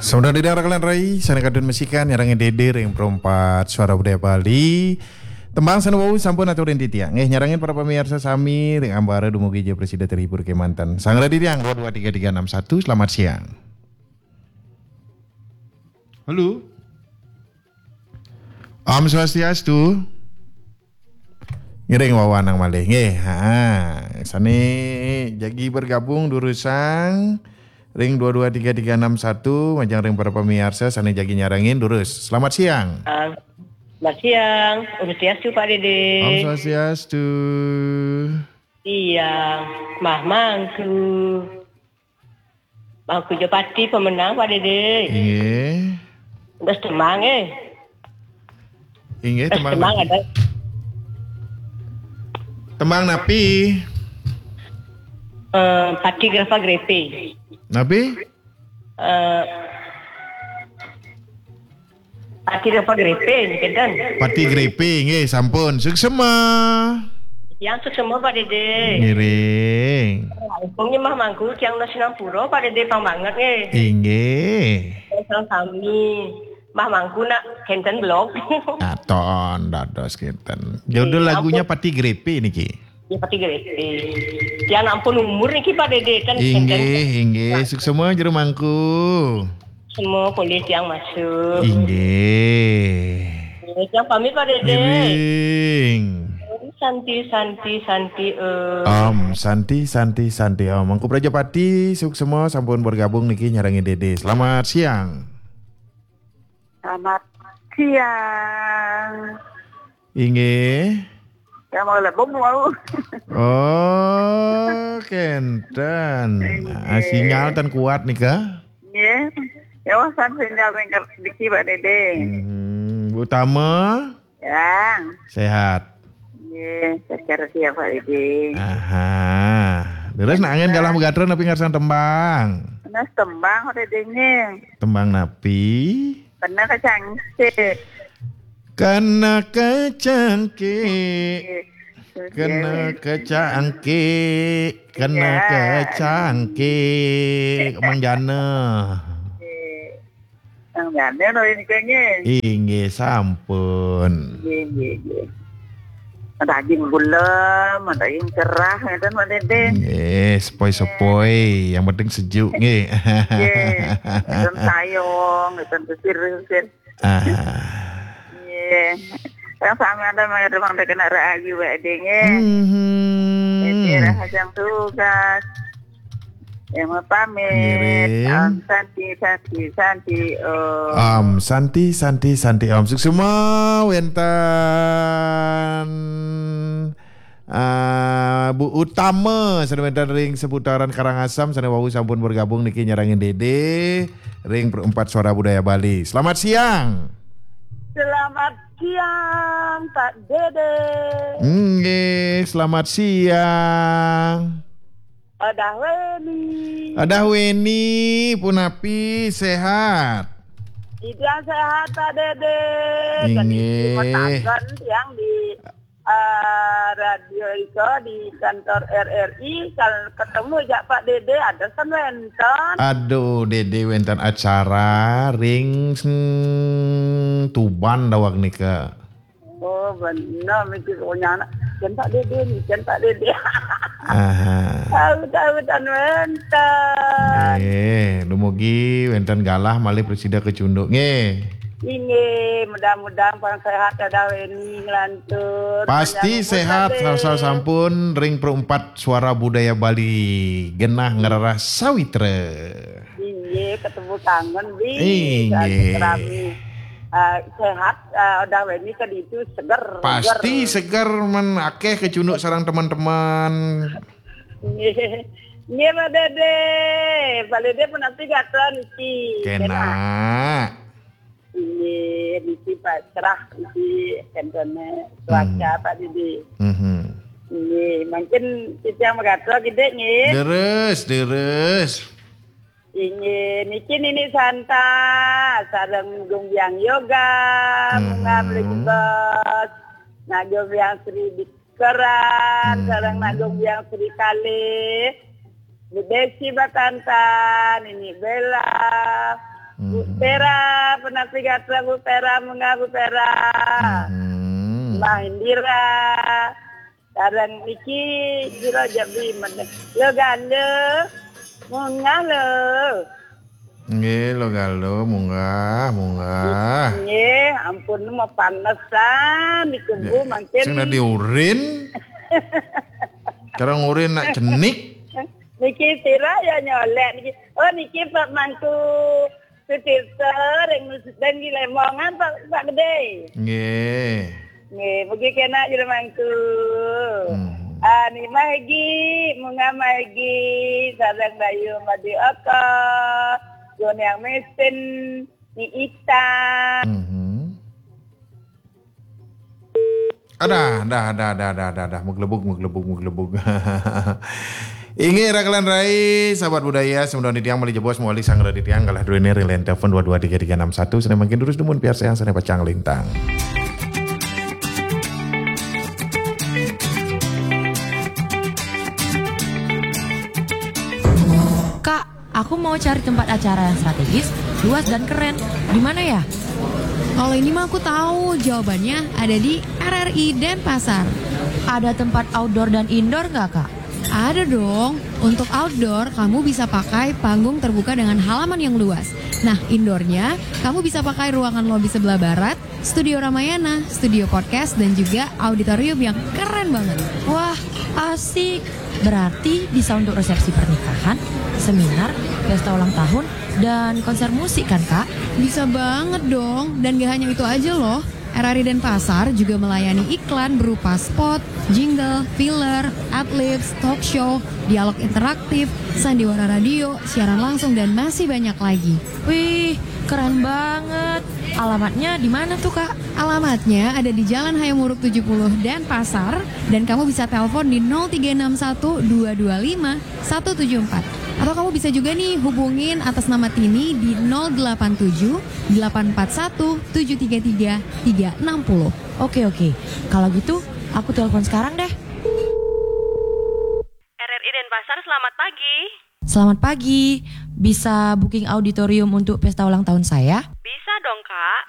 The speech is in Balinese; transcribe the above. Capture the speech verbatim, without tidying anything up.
Sampun ring kalian rai, sané kantun masikan nyarengin Dédé ring Pro empat Suara Budaya Bali. Tembang sané wau sampun aturin titiang. Nggih, nyarengin para pamiarsa sami ring ambara dumugi ja prasida terhibur kémanten. Sareng titiang dua dua tiga tiga enam satu, selamat siang. Halo. Om Swastiastu. Ngiring wawanang malih. Nggih, ha. Sané jagi bergabung durusang ring dua dua tiga tiga enam satu, majeng ring para pamiarsa sané jagi nyarengin durus. Selamat siang. Ah, selamat siang. Om Swastiastu, Pak Dédé. Om Swastiastu. Siang, Mah Mangku. Mangku ja pati pemenang, Pak Dédé. Inggih. Terus tembang, eh. Inggih, terus tembang tembang napi? Ada. Tembang napi? Eh, Pati Grapa Grepe. Napi? Eh, Pati Grapa Grepe, kinten. Pati Grepe, nggih, sampun. Suksema. Yang suksema, Pak Dédé. Ngiring. Langkung Mah Mangku, tiang nunas sinampura, Pak Dédé, pang banget, nggih. Inggih. Sareng sami. Mah Mangku nak kinten belum. Aton, dados kinten. Judul lagunya Pati Grepe niki. Ya, Pati Grepe. Tiang ampun umur niki, Pak Dédé, kan. Inggih, inggih. Suksema jero mangku. Semua boleh tiang masuk. Inggih. Tiang pamit, Pak Dédé. Ngiring. Santi, Santi, Santi, eh. Om Santi, Santi, Santi, Om. Mangku Prajapati, suksema sampun bergabung niki nyarengin Dédé. Selamat siang. Selamat siang. Inggih. Ya, mau lebong mau. Oh, kenten. Inggih. Ah, sinyal ten kuat nika. Nggih. Ya, wah, san sinyal ringkes diki, Pak Dédé. Mhm. Bu Tama? Ya. Sehat. Nggih, sehat ya, Pak Dédé. Aha. Terus nak angin galah magatra napi ngarsan tembang? Nah, tembang, Pak Dédé, nggih. Tembang napi? Kena kecangkik. Kena kecangkik. Kena kecangkik. Kena kecangkik. Mang Jana. Mang Jana no ini kayaknya. Inggih, sampun. Inggih, inggih, inggih. Daging gula, daging cerah, ngeten, Pak Dédé. Nggih, sepoi-sepoi, yang penting sejuk, nggih. Nggih. Ngeten sayong, ngeten sisir-sisir. Ah. Nggih. Yang sami ada mangga mangga kena rahayu, Pak Dédé, nggih. Mhm. Dédé rahajeng tugas. Yang mau pamit. Ngiring. Om Santi, Santi, Santi, Om. Om Santi, Santi, Santi, Om. Suksema wénten, ah, Bu Utama, sané wénten ring seputaran Karangasem, sané wau sampun bergabung niki nyarengin Dédé ring Pro empat Suara Budaya Bali. Selamat siang. Selamat siang, Pak Dédé. Nggih, selamat siang. Adah Weni. Adah Weni, punapi, sehat? Titiang sehat, Pak Dédé. Inggih. Kena tiang di, eh, radio iko di kantor R R I, kalau ketemu jak Pak Dédé, ada kan wénten. Aduh, Dédé wénten acara ring, hmm, Tuban daweg nika. Oh, bener, mikir pokoknya anak. Kan Pak Dédé nih, kan Pak Dédé. Aha. Tahu-tahu tan wénten. Eh, dumugi wénten galah malih prasida kecunduk nggih. Inggih, mudah-mudahan pang sehat Adah Weni nglantur. Pasti panjang umur sehat, Pak Dédé. Sampun ring Pro empat Suara Budaya Bali genah ngrereh sawitra. Inggih, ketemu kangen, Bi. Inggih. Silaturahmi. Eh, sehat, eh, Adah Weni ke ditu seger. Pasti seger. Seger, men akéh kecunduk sareng teman-teman. Nggih. Nggih, Pak Dédé. Pak Dédé pun nanti gatel niki. Kena. Kena. Inggih, niki Pak cerah niki kentene cuaca, hmm, Pak Dédé. Mhm. Nggih, mungkin kita yang gatel gedé nggih. Deres, deres. Inggih, niki Nini Santa, sareng Gumbyang Yoga, Bunga, mhm, Beli Bos, Nak Gumbyang Sri Dikeran, hmm, sareng Nak Gumbyang Sri Kalih, Bu Desi Batantan, Nini Bella, Bu Vera, penasi gatra Bu Vera, munggah Bu Vera. Hmm. Mbah Indira. Sareng niki sira Jawi meneh. Lo Galo. Munggah lo. Nggih, lo Galo, munggah, munggah. Nggih, ampun mau panesan niku Bu, mangkin. Sing dadi urin. Cara ngurin nak cenik. Niki sira ya nyolek niki. Oh, niki Pak Mangku Sutirta ring Nusden di Lemongan, Pak, Pak Gede. Nggih. Nggih, mugi kenak jero Mangku. Hmm. Ani Mahgi, Munga Mahgi, sareng Bayu Madi Oko, Goniang Mesin, Ni Ita. Hmm. Adah, dah, dah, dah, dah, dah, dah. Meglebug, meglebug, meglebug. Inggih, rakelan rai, sahabat budaya, semeton titiang malih jebos mawali sang titiang kalah druene ring line telepon dua dua tiga tiga enam satu, sane mangkin durus dumun piarsayang sane pacang lintang. Kak, aku mau cari tempat acara yang strategis, luas dan keren. Di mana ya? Kalau ini mah aku tahu, jawabannya ada di R R I Denpasar. Ada tempat outdoor dan indoor nggak, Kak? Ada dong. Untuk outdoor, kamu bisa pakai panggung terbuka dengan halaman yang luas. Nah, indoornya, kamu bisa pakai ruangan lobi sebelah barat, studio Ramayana, studio podcast, dan juga auditorium yang keren banget. Wah, asik. Berarti bisa untuk resepsi pernikahan, seminar, pesta ulang tahun, dan konser musik kan, Kak? Bisa banget dong. Dan gak hanya itu aja loh. R R I Denpasar juga melayani iklan berupa spot, jingle, filler, adlibs, talk show, dialog interaktif, sandiwara radio, siaran langsung, dan masih banyak lagi. Wih, keren banget. Alamatnya di mana tuh, Kak? Alamatnya ada di Jalan Hayam Wuruk tujuh puluh Denpasar, dan kamu bisa telepon di nol tiga enam satu dua dua lima satu tujuh empat. Atau kamu bisa juga nih hubungin atas nama Tini di nol delapan tujuh delapan empat satu tujuh tiga tiga tiga enam nol. Oke, oke. Kalau gitu, aku telepon sekarang deh. R R I Denpasar, selamat pagi. Selamat pagi. Bisa booking auditorium untuk pesta ulang tahun saya? Bisa dong, Kak.